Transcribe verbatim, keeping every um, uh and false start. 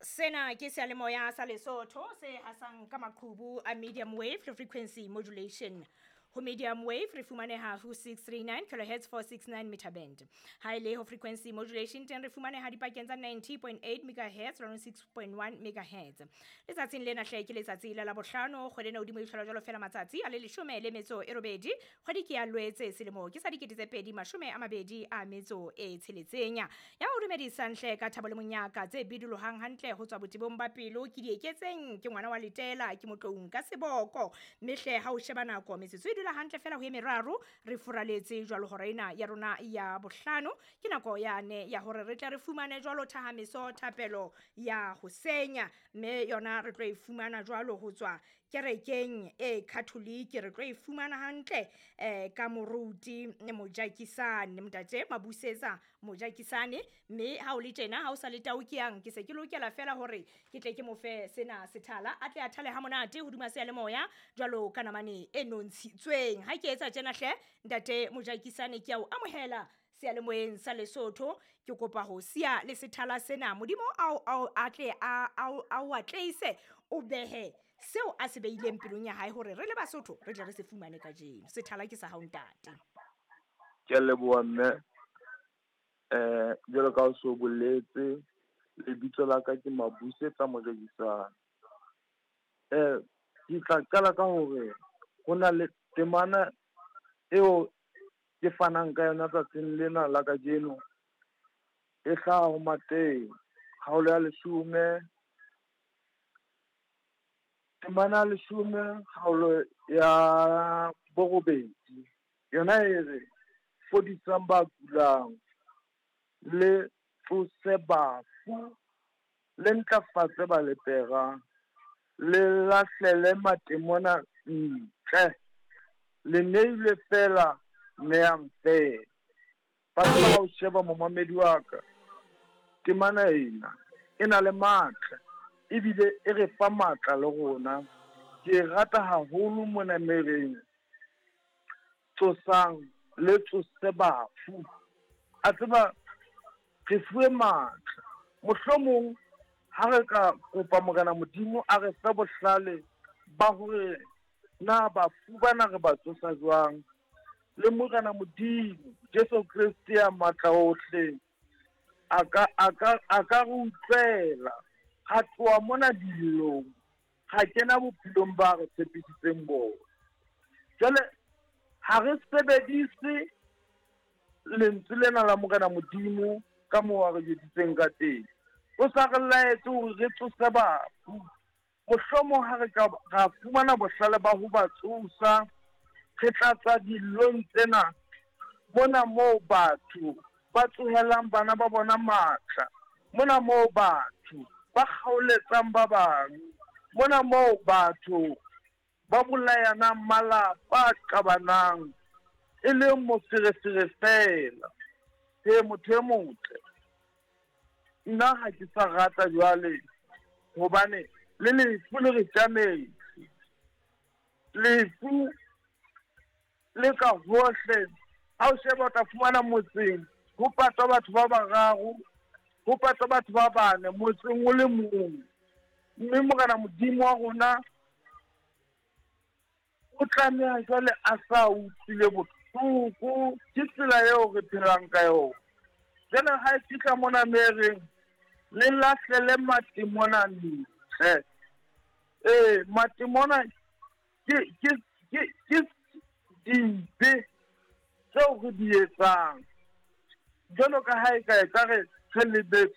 Sena ke seyalemoya sa Lesotho se hasang ka maqhubu a medium wave le frequency modulation. Ho medium wave re fumaneha ho six three nine kilohertz four six nine meter band. Ha ele ho frequency modulation teng re fumaneha dipakeng tsa ninety point eight megahertz le six point one megahertz. Letsatsing lena hle ke letsatsi la Labohlano, kgwedi ena hodimo e hlola jwalo fela matsatsi a le leshome le metso e robedi, kgwedi ke ya Loetse selemo ke sa dikete tse pedi mashome a mabedi a metso e tsheletseng. Ya o dumedisang hle ka thabo le monyaka tse bidulohang hantle ho tswa botebong ba pelo ke di eketseng ke ngwana wa Letela ke motloung ka seboko. Mme hle ha o sheba nako metsotso e dula hantle fela ho e meraro re furaletse jwalo hora ena ya rona ya bohlano ke nako yane ya hore re tle re fumane jwalo thahameso thapelo ya ho senya mme yona re tlo e fumana jwalo ho tswa kerekeng e Catholic re tlo e fumana hantle eh ka moruti Mojakisane ntate Mabusetsa Mojakisane mme ha o le tjena ha o sa le tau ke yang ke se ke lokela fela hore ke tle ke mo fe sena sethala a tle a thale ha monate hodima seyalemoya jwalo ka namane e nontshitsweng. Ha ke etsa tjena hle ntate Mojakisane ke a o amohela seyalemoyeng sa Lesotho ke kopa ho siya le sethala sena modimo ao ao atle a ao ao atleise o behe seo a se beileng pelong ya hae hore re le Basotho re tle re se fumane kajeno. Sethala ke sa hao ntate. Ke a leboha mme. Eh jwalo ka o so boletse lebitso la ka ke Mabusetsa Mojakisane. Eh ke tla qala ka hore ho na le temana eo ke fanang ka yona tsatsing lena la kajeno e hlaha ho Mateo kgaolo ya leshome temana ya leshome kgaolo ya borobedi yona e re fodisang ba kulang le tsose bafu le ntlafatse ba lepera le lahlele matemona ntle le neilwe fela neyang fela. Batho ba o sheba momamedi wa ka temana ena e na le matla ebile e re fa matla le rona. Ke e rata haholo mona mereng tsosang le tsose bafu. A tseba re fuwe matla mohlomong ha re ka kopa Morena Modimo a re fe bohlale ba hore na bafu bana re ba tsosa jwang le Morena Modimo Jesu Kreste ya matla ohle a ka a ka a ka re utlwela ha tloha mona dillong ha kena bophelong ba re tshepisitseng bona. Jwale ha re sebedise lentswe lena la Morena Modimo ka moo a re jwetsitseng ka teng. O sa re laetse hore re tsose bafu. Mohlomong ha re ka ra fumana bohlale ba ho ba tsosa re tla tswa dillong tsena mona moo batho ba tsohelang bana ba bona matla mona moo batho ba kgaoletsang ba bang mona moo batho ba bolayanang malapa a qabanang e leng moferefere fela. He motho e motle nna ha ke sa rata jwale hobane le lefu le re tjametse lefu le ka hohle. Ha o sheba o tla fumana motseng ho patwa batho ba bararo ho patwa batho ba bane motseng o le mong mme Morena Modimo wa rona o tlameha jwale a sa utlwile bohloko ke tsela eo re phelang ka yona. Jwale ha e fihla mona mereng le lahlele matemona ntle. Eh matemona ke ke ke ke dibe tseo re di etsang jwalo ka ha e ka e ka re re lebetse